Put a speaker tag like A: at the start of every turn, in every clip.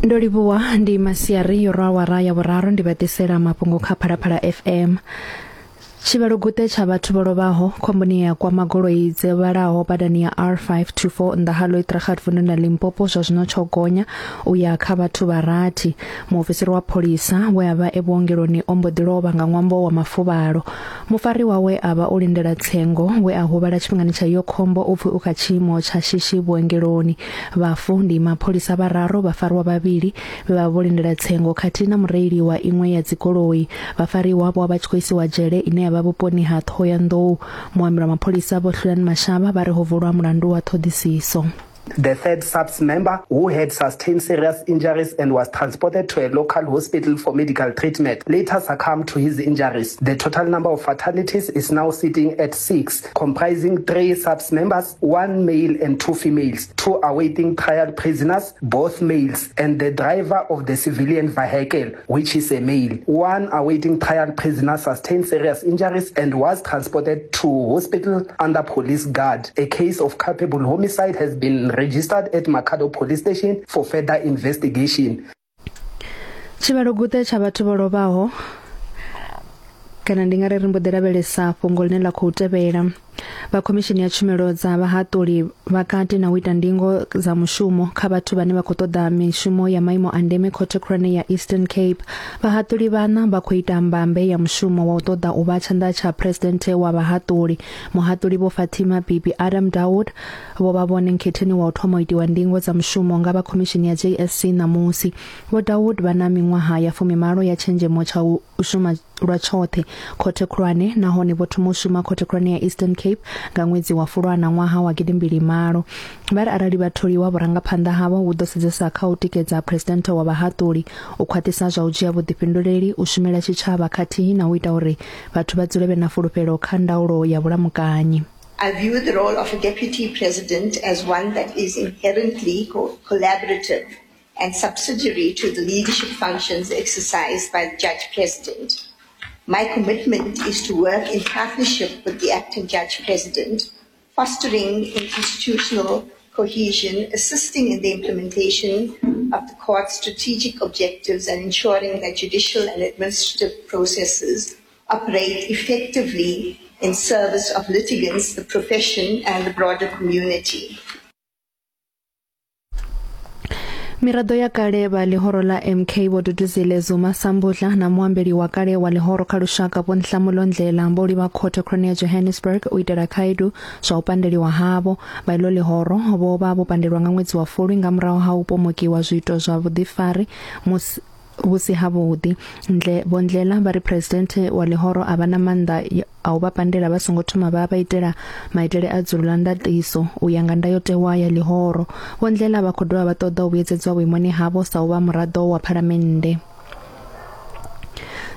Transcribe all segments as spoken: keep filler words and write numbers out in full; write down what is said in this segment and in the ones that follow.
A: Ndo livhuwa ndi masiari yo rwa awara ya vhuraru ndi vha ḓisela mafhungo kha Phalaphala F M. Tshivhalo guṱe tsha vhathu vho lovhaho khomboni ya kwama goloi dze vhalaho badani ya R five two four nnḓa ha Looidragat vunḓuni ḽa Limpopo zwa zwino tsho gonya u ya kha vhathu vha rathi. Muofisiri wa pholisa we a vha e vhuongeloni o mbo ḓi lovha nga ṅwambo wa mafuvhalo. Mufari wawe a vha o lindela tsengo we a huvhala tshifhingani tsha iyo khombo u pfi u kha tshiimo tsha shishi vhuongeloni. Vhafu ndi mapholisa vhararu, vhafariwa vhavhili vhe vha vho lindela tsengo khathihi na mureili wa iṅwe ya dzigoloi. Vhafariwa vho vha tshi khou isiwa dzhele ine ya vha vhuponi ha Thohoyandou. Muambeli wa mapholisa Vho Hlulani Mashaba vha ri ho vulwa mulandu wa ṱhoḓisiso.
B: The third SAPS member, who had sustained serious injuries and was transported to a local hospital for medical treatment, later succumbed to his injuries. The total number of fatalities is now sitting at six, comprising three SAPS members, one male and two females, two awaiting trial prisoners, both males, and the driver of the civilian vehicle, which is a male. One awaiting trial prisoner sustained serious injuries and was transported to hospital under police guard. A case of culpable homicide has been registered at Makhado Police Station for further investigation.
A: Tshivhalo guṱe tsha vhathu vho lovhaho kana ndi nga ri ri mbo ḓi lavhelesa fhungo ḽine ḽa khou tevhela. Vha khomishini ya tshumelo dza vhahaṱuli vha kati na u ita ndingo dza mushumo kha vhathu vhane vha khou ṱoḓa mishumo ya maimo a ndeme khothe khulwane ya Eastern Cape. Vhahaṱuli vhana vha khou ita mbambe ya mushumo wa u ṱoḓa u vha tshanḓa tsha presidenthe wa vhahaṱuli. Muhaṱuli Vho Fatima Bibi Adam Dawood vho vha vhone nkhetheni wa u thoma u itiwa ndingo dza mushumo nga vha khomishini ya J S C ṋamusi. Vho Dawood vha na miṅwaha ya fumimalo ya tshenzhemo tsha u shuma lwa tshoṱhe khothe khulwane nahone vho thoma u shuma khothe khulwane ya Eastern Cape nga ṅwedzi wa Fulwana ṅwaha wa gidimbili malo. Vha ri arali vha tholiwa vhurangaphanḓa havho vhu ḓo sedzesa kha u tikedza presidenthe wa vhahaṱuli, u khwaṱhisa zwa u dzhia vhuḓifhinduleli, u shumela tshitshavha khathihi na u ita uri vhathu vha dzule vhe na fulufhelo kha ndaulo ya vhulamukanyi.
C: I view the role of a deputy president as one that is inherently co- collaborative and subsidiary to the leadership functions exercised by the judge president. My commitment is to work in partnership with the acting judge president, fostering institutional cohesion, assisting in the implementation of the court's strategic objectives and ensuring that judicial and administrative processes operate effectively in service of litigants, the profession, and the broader community.
A: Miraḓo ya kale vha ḽihoro ḽa M K Vho Duduzile Zuma Sambudla na muambeli wa kale wa ḽihoro kha lushaka Vho Nhlamulo Ndlela vho livha khothe khulwane ya Johannesburg u itela khaedu zwa u pandeliwa havho. Vha iḽo ḽihoro vho vha vho pandelwa nga ṅwedzi wa Fulwi nga murahu ha u pomokiwa zwiito zwa vhuḓifari musi vhusi havhuḓi. Ndle Vho Ndlela vha ri presidenthe wa ḽihoro a vha na maanḓa a u vha pandela vha songo thoma vha vha itela maitele a dzulo ḽa ndaṱiso u ya nga ndayotewa ya ḽihoro. Vho Ndlela vha khou dovha vha ṱoḓa u vhuyedzedzwa vhuimoni havho sa u vha muraḓo wa phalamennde.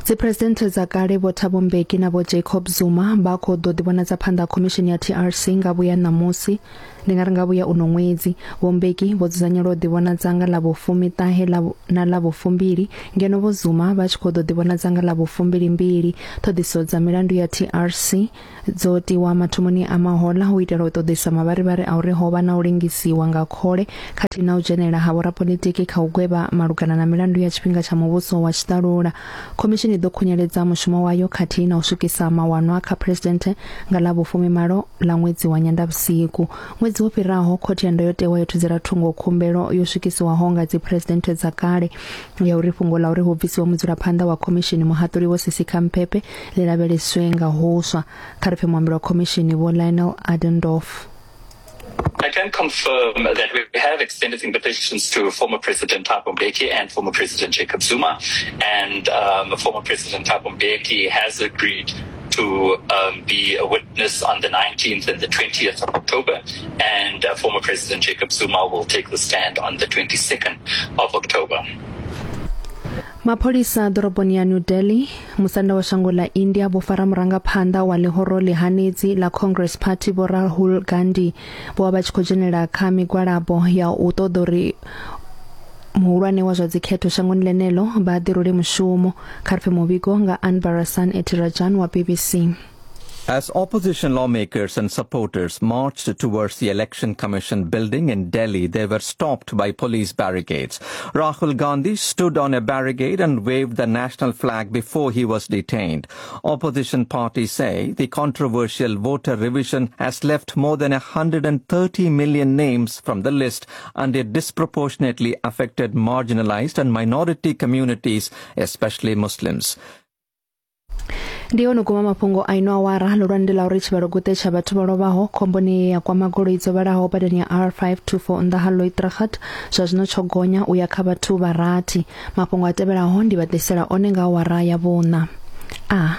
A: Dzipresidenthe dza kale Vho Thabo Mbeki na Vho Jacob Zuma vha khou ḓo ḓivhonadza phanḓa khomishini ya T R C nga vhuya ṋamusi, ndi nga ri nga vhuya uno ṅwedzi. Vho Mbeki vho dzudzanyelwa u ḓivhonadza nga ḽa vhufumiṱahe na ḽa vhufumbili, ngeno Vho Zuma vha tshi khou ḓo ḓivhonadza nga ḽa vhufumbilimbili. Ṱhoḓisiso dza milandu ya T R C dzo tiwa mathomoni a mahola u itela u ṱoḓisa mavharivhari a uri ho vha na u lingisiwa nga khole khathihi na u dzhenela ha vhorapolitiki kha u gwevha malugana na milandu ya tshifhinga tsha muvhuso wa tshiṱalula. Khomishini ḓo khunyeledza mushumo wayo khathihi na u swikisa mawanwa kha presidenthe nga ḽa vhufumimalo ḽa ṅwedzi wa Nyendavhusiku. Ṅwedzi wo fhiraho khothe ya ndayotewa yo thudzela thungo khumbelo yo swikisiwaho nga dzipresidenthe dza kale ya uri fhungo ḽa uri hu bvisiwe mudzulaphanḓa wa khomishini muhaṱuli Vho Sisi Khampepe ḽi lavheleswe nga huswa. Kha ri pfe muambeli wa khomishini Vho Lionel Adendorff.
D: I can confirm that we have extended invitations to former President Thabo Mbeki and former President Jacob Zuma, and um, former President Thabo Mbeki has agreed to um, be a witness on the nineteenth and the twentieth of October, and uh, former President Jacob Zuma will take the stand on the twenty-second of October.
A: Mapholisa ḓoroboni ya New Delhi, musanda wa shango ḽa India vho fara murangaphanḓa wa ḽihoro ḽihanedzi ḽa Congress Party Vho Rahul Gandhi. Vho vha vha tshi khou dzhenela kha migwalabo ya u ṱoḓa uri muhulwane wa zwa dzikhetho shangoni ḽeneḽo vha ḓirule mushumo. Kha ri pfe muvhigo nga Anbarasan Etirajan wa B B C.
E: As opposition lawmakers and supporters marched towards the Election Commission building in Delhi, they were stopped by police barricades. Rahul Gandhi stood on a barricade and waved the national flag before he was detained. Opposition parties say the controversial voter revision has left more than one hundred thirty million names from the list, and it disproportionately affected marginalized and minority communities, especially Muslims.
A: Ndi hone guma mafhungo a ino awara ḽo ḽa uri tshivhalo guṱe tsha vhathu vho lovhaho khomboni ya kwama goloi dzo vhalaho badani ya R five two four nnḓa ha Looitragat zwa zwino tsho gonya u ya kha vhathu vha rathi. Mafhungo a tevhelaho ndi vha ḓisela one nga awara ya vhuṋa. A